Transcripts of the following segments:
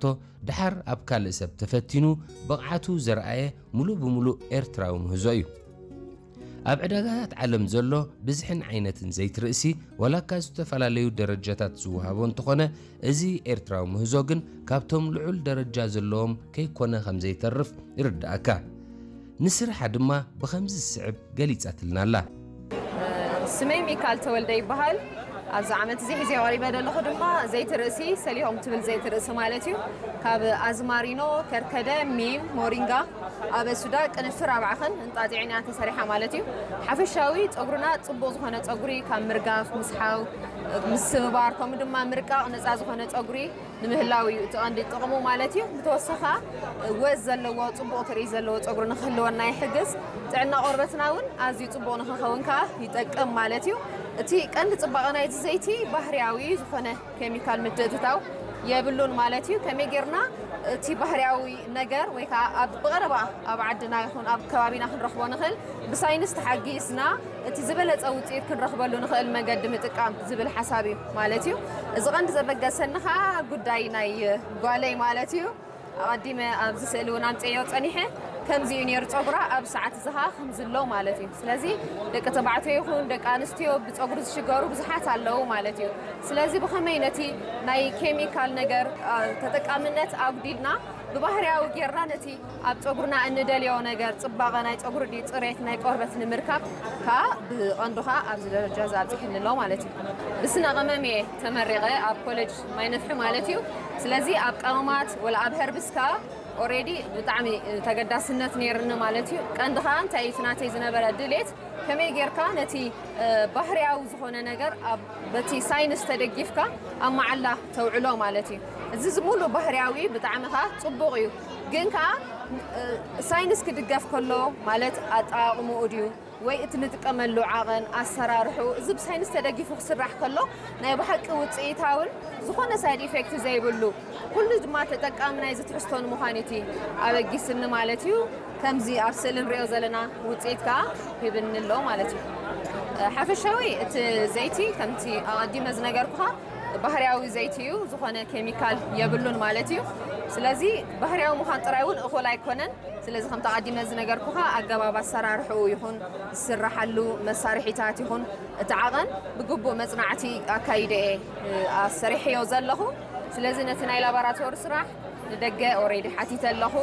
ዝኣተወቶ፣ ደሓር ኣብ ካልእ ሰብ ተፈቲኑ ብቕዓቱ ዘርኣየ፣ ሙሉእ ብሙሉእ ኤርትራዊ ምህዞ እዩ። ኣብ ዕዳጋታት ዓለም ዘሎ ብዝሕን ዓይነትን ዘይቲ ርእሲ፣ ዋላ እካ ዝተፈላለዩ ደረጃታት ዝወሃቦ እንተኾነ፣ እዚ ኤርትራዊ ምህዞ ግን ካብቶም ልዑል ደረጃ ዘለዎም ከይኮነ ከም ዘይተርፍ ይርድኣካ። ንስርሓ ድማ ብኸምዚ ዝስዕብ ገሊጻትልና ኣላ። ስመይ ሚካል ተወልደ ይበሃል። ኣብዚ ዓመት እዚ ሒዘ ቀሪበ ዘለኹ ድማ ዘይቲ ርእሲ፣ ሰሊሆም ትብል ዘይቲ ርእሲ ማለት እዩ። ካብ ኣዝማሪኖ፣ ከርከደ፣ ሚም፣ ሞሪንጋ፣ ኣበሱዳ፣ ቅንፍር፣ ኣባዕኸን እንጣጢዕን እያ ተሰሪሓ ማለት እዩ። ሓፈሻዊ ጸጉርና ጽቡቕ ዝኾነ ጸጉሪ ካብ ምርጋፍ፣ ምስሓው፣ ምስብባር፣ ከምኡ ድማ ምርቃቕ ነጻ ዝኾነ ጸጉሪ ንምህላው እዩ እቲ ቀንዲ ጥቕሙ ማለት እዩ። ብተወሰኻ ወዝ ዘለዎ፣ ጽቡቕ ትርኢት ዘለዎ ጸጉሪ ንክህልወና ይሕግዝ። ጥዕና ቆርበትና እውን ኣዝዩ ጽቡቕ ንክኸውን ከኣ ይጠቅም ማለት እዩ። እቲ ቀንዲ ጽባቐ ናይዚ ዘይቲ ባህርያዊ ዝኾነ ኬሚካል ምትእትታው የብሉን ማለት እዩ። ከመይ ጌርና እቲ ባህርያዊ ነገር ወይ ከዓ ኣብ ብቐረባ ኣብ ዓድና ይኹን ኣብ ከባቢና ክንረኽቦ ንኽእል ብሳይንስ ተሓጊዝና እቲ ዝበለጸ ውፅኢት ክንረኽበሉ ንኽእል መገዲ ምጥቃም ዝብል ሓሳብ እዩ ማለት እዩ። እዚ ቀንዲ ዘበገሰኒ ከዓ ጉዳይ ናይ ጓለይ ማለት እዩ። ኣቐዲመ ኣብዚ ስእሊ እውን ኣምፅዮ ፀኒሐ ከምዚ እዩ ነይሩ ፀጉራ ኣብ ሰዓት ዝሃ ከምዝሎ ማለት እዩ። ስለዚ ደቂ ተባዕትዮ ይኹን ደቂ ኣንስትዮ ብፀጉሪ ዝሽገሩ ብዙሓት ኣለዉ ማለት እዩ። ስለዚ ብኸመይ ነቲ ናይ ኬሚካል ነገር ተጠቃምነት ኣጉዲልና ብባህርያዊ ጌርና ነቲ ኣብ ጸጉርና እንደልዮ ነገር ጽባቐ ናይ ጸጉሪ ድዩ ጽሬት ናይ ቆርበት ንምርካብ ከኣ ብቐንዱ ከኣ ኣብዚ ደረጃ እዚ ኣብጺሕኒ ኣሎ ማለት እዩ። ብስነ ቀመም እየ ተመሪቐ ኣብ ኮሌጅ ማይ ነፍሒ ማለት እዩ። ስለዚ ኣብ ቀመማት ወላ ኣብ ሀርብስ ከኣ ኦሬዲ ብጣዕሚ ተገዳስነት ነይርኒ ማለት እዩ። ቀንዲ ከኣ እንታይ እዩ እቲ ናተይ ዝነበረ ድሌት ከመይ ጌርካ ነቲ ባህርያዊ ዝኾነ ነገር ኣብ በቲ ሳይንስ ተደጊፍካ ኣብ መዓላ ተውዕሎ ማለት እዩ። እዚ ዝሙሉ ባህርያዊ ብጣዕሚ ኸዓ ጽቡቕ እዩ፣ ግን ከዓ ሳይንስ ክድገፍ ከሎ ማለት ኣጠቓቕምኡ ድዩ ወይ እቲ ንጥቀመሉ ዓቐን ኣሰራርሑ እዚ ብሳይንስ ተደጊፉ ክስራሕ ከሎ ናይ ብሓቂ ውፅኢታውን ዝኾነ ሳይድ ኢፌክት ዘይብሉ ኩሉ ድማ ተጠቃሚ ናይዚ ትሕዝቶ ንምዃን እቲ ኣበጊስኒ ማለት እዩ። ከምዚ ኣብ ስእሊ ንሪኦ ዘለና ውፅኢት ከዓ ሂብኒ ኣሎ ማለት እዩ። ሓፈሻዊ እቲ ዘይቲ ከምቲ ኣቐዲመ ዝነገርኩኻ ባህርያዊ ዘይቲ እዩ፣ ዝኾነ ኬሚካል የብሉን ማለት እዩ። ስለዚ ባህርያዊ ምዃን ጥራይ እውን እኹል ኣይኮነን። ስለዚ ከምቲ ኣቐዲመ ዝነገርኩኻ ኣገባብ ኣሰራርሕኡ ይኹን ዝስራሓሉ መሳርሒታት ይኹን እቲ ዓቐን ብግቡእ መፅናዕቲ ኣካይደ እየ ኣሰሪሐዮ ዘለኹ። ስለዚ ነቲ ናይ ላባራቶሪ ስራሕ ንደገ ኦሬዲ ሓቲተ ኣለኹ፣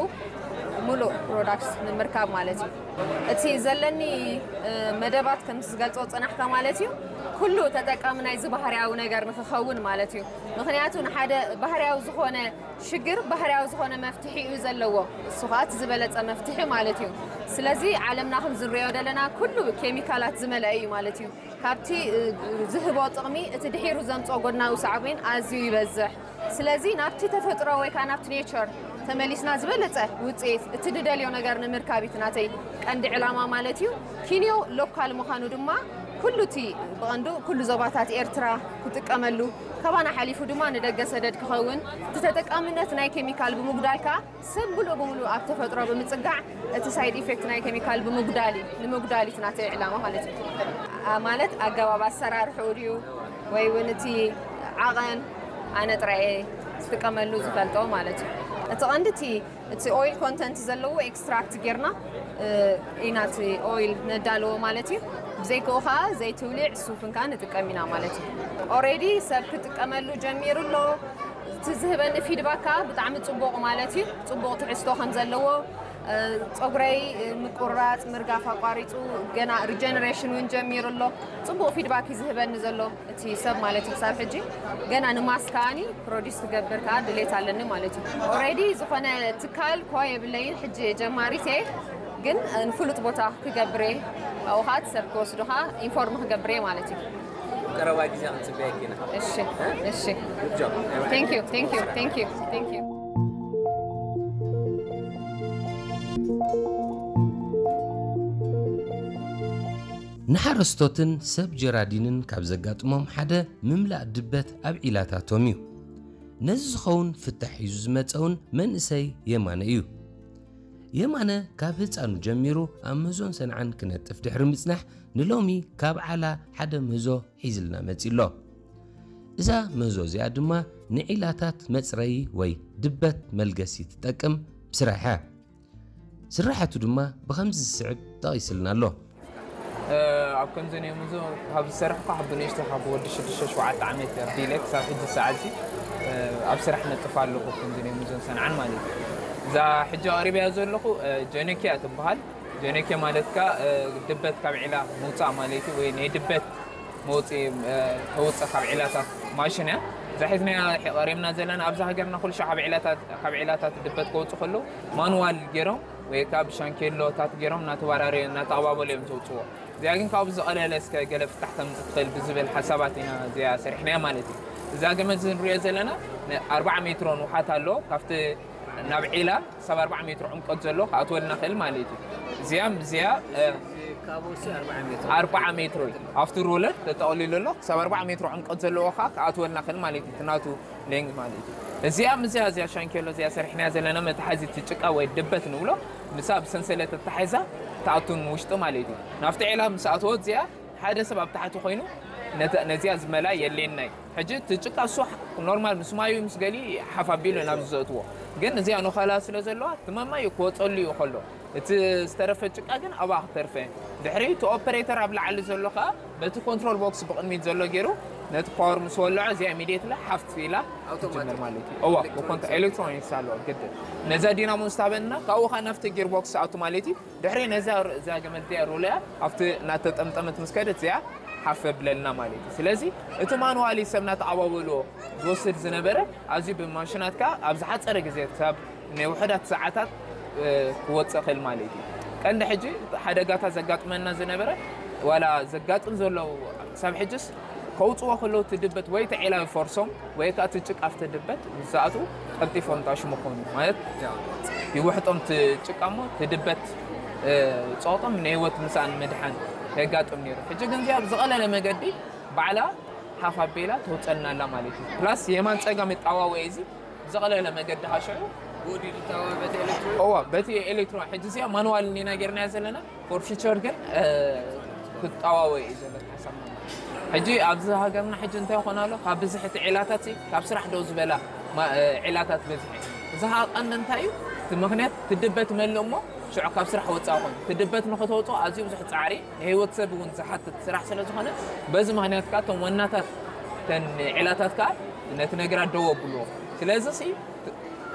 ሙሉእ ፕሮዳክት ንምርካብ ማለት እዩ። እቲ ዘለኒ መደባት ከምቲ ዝገልጾ ዝጸናሕካ ማለት እዩ፣ ኩሉ ተጠቃሚ ናይዚ ባህርያዊ ነገር ንክኸውን ማለት እዩ። ምክንያቱ ንሓደ ባህርያዊ ዝኾነ ሽግር ባህርያዊ ዝኾነ መፍትሒ እዩ ዘለዎ። እሱ ከዓ እቲ ዝበለጸ መፍትሒ ማለት እዩ። ስለዚ ዓለምና ከም ዝንሪኦ ዘለና ኩሉ ኬሚካላት ዝመልአ እዩ ማለት እዩ። ካብቲ ዝህቦ ጥቕሚ እቲ ድሒሩ ዘምፅኦ ጎድናዊ ሳዕቤን ኣዝዩ ይበዝሕ። ስለዚ ናብቲ ተፈጥሮ ወይ ከዓ ናብቲ ኔቸር ተመሊስና ዝበለፀ ውፅኢት እቲ ንደልዮ ነገር ንምርካብ እቲ ናተይ ቀንዲ ዕላማ ማለት እዩ። ኪንዮ ሎካል ምዃኑ ድማ ኩሉ እቲ ብቐንዱ ኩሉ ዞባታት ኤርትራ ክጥቀመሉ ካባና ሓሊፉ ድማ ንደገ ሰደድ ክኸውን እቲ ተጠቃምነት ናይ ኬሚካል ብምጉዳል ከዓ ሰብ ምሉእ ብምሉእ ኣብ ተፈጥሮ ብምፅጋዕ እቲ ሳይድ ኢፌክት ናይ ኬሚካል ብምጉዳል እዩ ንምጉዳል እዩ ናተይ ዕላማ ማለት እዩ። ማለት ኣገባብ ኣሰራርሕኡ ድዩ ወይ እውን እቲ ዓቐን ኣነ ጥራየ ዝጥቀመሉ ዝፈልጦ ማለት እዩ። እቲ ቀንዲ እቲ እቲ ኦይል ኮንተንት ዘለዎ ኤክስትራክት ጌርና ኢና እቲ ኦይል ነዳለዎ ማለት እዩ። ብዘይክኡ ከዓ ዘይትውሊዕ ሱፍን ከዓ ንጥቀም ኢና ማለት እዩ። ኦሬዲ ሰብ ክጥቀመሉ ጀሚሩ ኣሎ። እቲ ዝህበኒ ፊድባክ ከዓ ብጣዕሚ ፅቡቕ ማለት እዩ። ፅቡቕ ትሕዝቶ ከም ዘለዎ ፀጉረይ ምቁራፅ ምርጋፍ ኣቋሪፁ ገና ሪጀነሬሽን እውን ጀሚሩ ኣሎ። ፅቡቕ ፊድባክ እዩ ዝህበኒ ዘሎ እቲ ሰብ ማለት እዩ። ክሳብ ሕጂ ገና ንማስካኒ ፕሮዲስ ክገብር ከዓ ድሌት ኣለኒ ማለት እዩ። ኦሬዲ ዝኾነ ትካል ኳ የብለይን ሕጂ ጀማሪት እየ፣ ግን ንፍሉጥ ቦታ ክገብር እየ። ኣብኡ ከዓ እቲ ሰብ ክወስዶ ከዓ ኢንፎርም ክገብር እየ ማለት እዩ። ቀረባ ግዜ ክንፅበየኪ ኢና። እሺ እሺ። Thank you thank you thank you thank you. ንሓረስቶትን ሰብ ጀራዲንን ካብ ዘጋጥሞም ሓደ ምምላእ ድበት ኣብ ዒላታቶም እዩ። ነዚ ዝኸውን ፍታሕ ሒዙ ዝመጸ እውን መንእሰይ የማነ እዩ። የማነ ካብ ህፃኑ ጀሚሩ ኣብ ምህዞን ሰንዓን ክነጥፍ ድሕሪ ምፅናሕ ንሎሚ ካብ ዓላ ሓደ ምህዞ ሒዝልና መፂ ኣሎ። እዛ ምህዞ እዚኣ ድማ ንዒላታት መፅረዪ ወይ ድበት መልገሲ ትጠቅም ስራሕ እያ። ስራሓቱ ድማ ብኸምዚ ዝስዕብ ጠቒስልና ኣሎ። ኣብ ከምዚ ናይ ሙዞ ካብ ዝሰርሕኳ ካብ ብንእሽቶ ካብ ወዲ ሽዱሽተ ሸውዓተ ዓመት ኣቢለ ክሳብ ሕጂ ሰዓት ኣብ ስራሕ ነጥፍ ኣለኹ። ከምዚ ናይ ሙዞን ሰንዓን ማለት እዩ። እዛ ሕጂ ኣቕሪብያ ዘለኹ ጀነኪያ ትበሃል። ጀነኪያ ማለት ከኣ ድበት ካብ ዒላ ምውፃእ ማለት እዩ፣ ወይ ናይ ድበት መውፅኢ ተውፅእ ካብ ዒላታት ማሽን እያ። እዛ ሒዝናያ ቀሪብና ዘለና ኣብዚ ሃገርና ኩሉ ሻዕ ካብ ዒላታት ድበት ከውፅእ ከለዉ ማንዋል ገይሮም ወይ ከዓ ብሻንኬሎታት ገይሮም እናተወራረዩ እናተቐባበሉ እዮም ዘውፅዎ። እዚኣ ግን ካብኡ ዝቐለለ እስከ ገለ ፍታሕ ከምዚ ትኽእል ብዝብል ሓሳባት ኢና እዚኣ ሰሪሕናያ ማለት እዩ። እዛ ገመድ እዚ ንሪኦ ዘለና ኣርባዓ ሜትሮ ንውሓት ኣለዎ። ካብቲ ናብ ዒላ ክሳብ ኣርባዓ ሜትሮ ዕምቆት ዘሎ ክኣትወልና ክእል ማለት እዩ። እዚኣ እዚኣ ኣርባዓ ሜትሮ እዩ። ኣብቲ ሮለር ተጠቕሊሉ ኣሎ። ክሳብ ኣርባዓ ሜትሮ ዕምቆት ዘለዎ ከዓ ክኣትወልና ክእል ማለት እዩ። ናቱ ሌንግ ማለት እዩ። እዚኣ ምስዚኣ እዚኣ ሻንኬሎ እዚኣ ሰሪሕናያ ዘለና መትሓዚ እቲ ጭቃ ወይ ድበት ንብሎ፣ ምሳ ብሰንሰለት ኣተሓሒዛ ትኣቱን ውሽጢ ማለት እዩ። ናብቲ ዒላ ምስ ኣተወት እዚኣ ሓደ ሰብ ኣብ ታሕቲ ኮይኑ ነዚኣ ዝመላ የድልየና እዩ። ሕጂ እቲ ጭቃ እሱ ኖርማል ምስ ማዩ ምስ ገሊ ሓፍ ኣቢሉ ናብ ዘእትዎ፣ ግን እዚኣ ነኸላ ስለ ዘለዋ እቲ መማይ ክወፀሉ እዩ ከሎ እቲ ዝተረፈ ጭቃ ግን ኣብኣ ክተርፈ። ድሕሪ እቲ ኦፐሬተር ኣብ ላዕሊ ዘሎ ከዓ በቲ ኮንትሮል ቦክስ ብቕድሚት ዘሎ ገይሩ ነቲ ፓወር ምስ ወልዖ እዚኣ ኢሚድየትሊ ሓፍ ኢላ ትጅምር ማለት እዩ። እዋ ኤሌክትሮኒክስ ኣለዎ ግድን ነዛ ዲናሞ ምስ ታበና ካብኡ ከዓ ናብቲ ጊር ቦክስ ኣቱ ማለት እዩ። ድሕሪ ነዛ እዛ ገመድ እዚኣ ሩልያ ኣብቲ እናተጠምጠመት ምስ ከደት እዚኣ ሓፍ ብለልና ማለት እዩ። ስለዚ እቲ ማኑዋሊ ሰብ እናተቐባበልዎ ዝወስድ ዝነበረ ኣዝዩ ብማሽናት ከዓ ኣብ ዝሓፀረ ግዜ ክሳብ ናይ ውሑዳት ሰዓታት ክወፅእ ክእል ማለት እዩ። ቀንዲ ሕጂ ሓደጋታት ዘጋጥመና ዝነበረ ዋላ ዘጋጥም ዘለዉ ክሳብ ሕጅስ ከውፅዎ ከለዉ ትድበት ወይ ተዒላዊ ፈርሶም ወይ ከዓ ትጭቃፍ ትድበት ምስ ዝኣትዉ ቀልጢፎም ጣሽሙ ክኾኑ ማለት ይውሕጦም ትጭቃሞ ትድበት ፀቕጦም ንህይወት ምሳን ምድሓን የጋጥም ነይሩ። ሕጂ ግን እዚኣ ብዝቐለለ መገዲ ባዕላ ሓፍ ኣቢላ ተውፀልና ኣላ ማለት እዩ። ፕላስ የማን ፀጋም ይጣዋወ እዚ ብዝቐለለ መገዲ ሃሸዑ ብወዲዱ ይጣዋወ በቲ ኤሌክትሮን እዋ በቲ ኤሌክትሮን ሕጂ እዚኣ ማኑዋል እኒና ጌርናያ ዘለና ፎር ፊቸር ግን ክጣዋወ እዩ ዘሎ ሓሳብና። ሕጂ ኣብዚ ሃገርና ሕጂ እንታይ ይኾን ኣሎ ካብ ብዝሒ እቲ ዒላታት ሲ ካብ ስራሕ ደው ዝበላ ማ- ዒላታት በዝሒ እዚ ከዓ ቀንዲ እንታይ እዩ እቲ ምክንያት ትድበት መልእ እሞ ሽዑ ካብ ስራሕ ወፃእ ኮይኑ ትድበት ንክተውፅኦ ኣዝዩ ብዙሕ ፃዕሪ ንህይወት ሰብ እውን ዝሓትት ስራሕ ስለ ዝኾነ በዚ ምክንያት ከዓ እቶም ዋናታት ተን ዒላታት ከዓ ነቲ ነገራት ደው ኣብልዎ። ስለዚ ሲ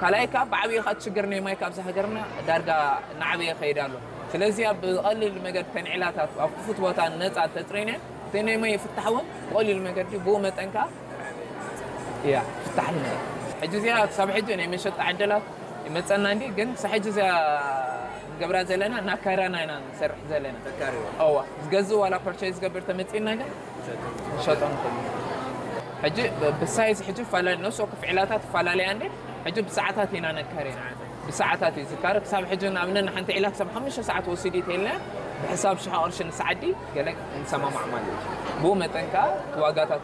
ካልኣይ ከዓ ብዓብዪ ከዓ ችግር ናይ ማይ ካብዚ ሃገርና ዳርጋ እናዓበየ ይኸይድ ኣሎ። ስለዚ ኣብ ብቐሊል መገድ ተን ዒላታት ኣብ ክፉት ቦታ ነፃ ተፅሪነ እቲ ናይ ማይ ፍታሕ እውን ብቐሊል መገዲ ብኡ መጠን ከዓ እያ ፍታሕ ንመ ሕጂ እዚኣ ክሳብ ሕጂ ናይ መሸጣ ዕድላት ይመፀና እንዲ ግን ክሳብ ሕጂ እዚኣ ንገብራ ዘለና እናካራና ኢና ንሰርሕ ዘለና። እዋ ዝገዝእ ዋላ ፐርቸይዝ ዝገብር ተመፂና ግን ንሸጦ ንኽእል። ሕጂ ብሳይዝ ሕጂ ይፈላለ ነፍሲ ወከፍ ዒላታት ይፈላለያ እንዲ ሕጂ ብሰዓታት ኢና ነካርያ። ብሰዓታት እዩ ዝካረ ክሳብ ሕጂ ንኣብነት ንሓንቲ ዒላ ክሳብ ሓሙሽተ ሰዓት ወሲዱ ተልና ብሕሳብ ሽሕ ቅርሺ ንሰዓዲ ገለ ንሰማማዕ ማለት እዩ። ብኡ መጠን ከዓ ዋጋታት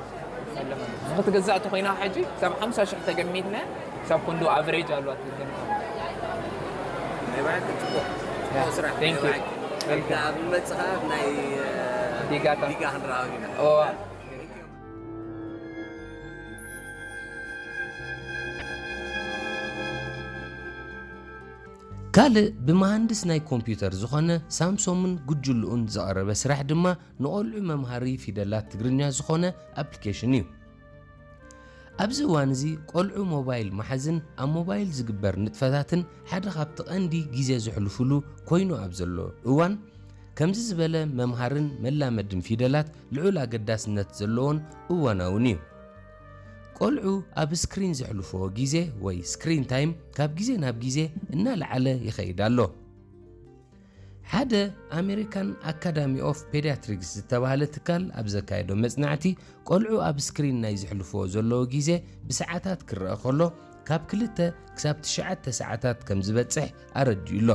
ንክትገዛእ ተኮይና ሕጂ ክሳብ ሓምሳ ሽሕ ተገሚትና ክሳብ ክንዱ ኣቨሬጅ ኣለዋ ትገምታ። ናይ ባዕልክ ፅቡቅ ፅቡቅ ስራሕ ናይ Thank you. ባዕልክ Welcome. ኣብ መፅኻ ናይ ዲጋታ ዲጋ ክንረኸብ ኢና እዋ ካልእ ብመሃንድስ ናይ ኮምፒውተር ዝኾነ ሳምሶምን ጉጅልኡን ዝቐረበ ስራሕ ድማ ንቖልዑ መምሃሪ ፊደላት ትግርኛ ዝኾነ ኣፕሊኬሽን እዩ። ኣብዚ እዋን እዚ ቆልዑ ሞባይል ምሓዝን ኣብ ሞባይል ዝግበር ንጥፈታትን ሓደ ካብቲ ቀንዲ ግዜ ዘሕልፉሉ ኮይኑ ኣብ ዘሎ እዋን ከምዚ ዝበለ መምሃርን መላመድን ፊደላት ልዑል ኣገዳስነት ዘለዎን እዋናውን እዩ። ቆልዑ ኣብ ስክሪን ዘሕልፍዎ ግዜ ወይ ስክሪን ታይም ካብ ግዜ ናብ ግዜ እናለዓለ ይኸይድ ኣሎ። ሓደ ኣሜሪካን ኣካዳሚ ኦፍ ፔዲያትሪክስ ዝተባህለ ትካል ኣብ ዘካየዶ መጽናዕቲ ቆልዑ ኣብ ስክሪን ናይ ዘሕልፍዎ ዘለዉ ግዜ ብሰዓታት ክረአ ከሎ ካብ ክልተ ክሳብ ትሽዓተ ሰዓታት ከም ዝበጽሕ ኣረዲኡ ኣሎ።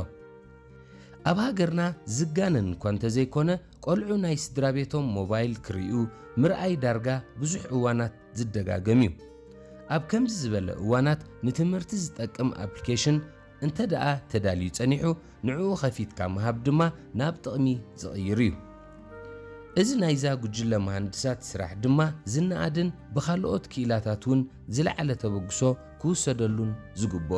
ኣብ ሃገርና ዝጋነን እኳ እንተዘይኮነ ቆልዑ ናይ ስድራ ቤቶም ሞባይል ክርእዩ ምርኣይ ዳርጋ ብዙሕ እዋናት ዝደጋገም እዩ። ኣብ ከምዚ ዝበለ እዋናት ንትምህርቲ ዝጠቅም ኣፕሊኬሽን እንተ ደኣ ተዳልዩ ጸኒሑ ንዕኡ ኸፊትካ ምሃብ ድማ ናብ ጥቕሚ ዝቕይር እዩ። እዚ ናይዛ ጉጅለ መሃንድሳት ስራሕ ድማ ዝነኣድን ብኻልኦት ክኢላታት እውን ዝለዓለ ተበግሶ ክውሰደሉን ዝግብኦ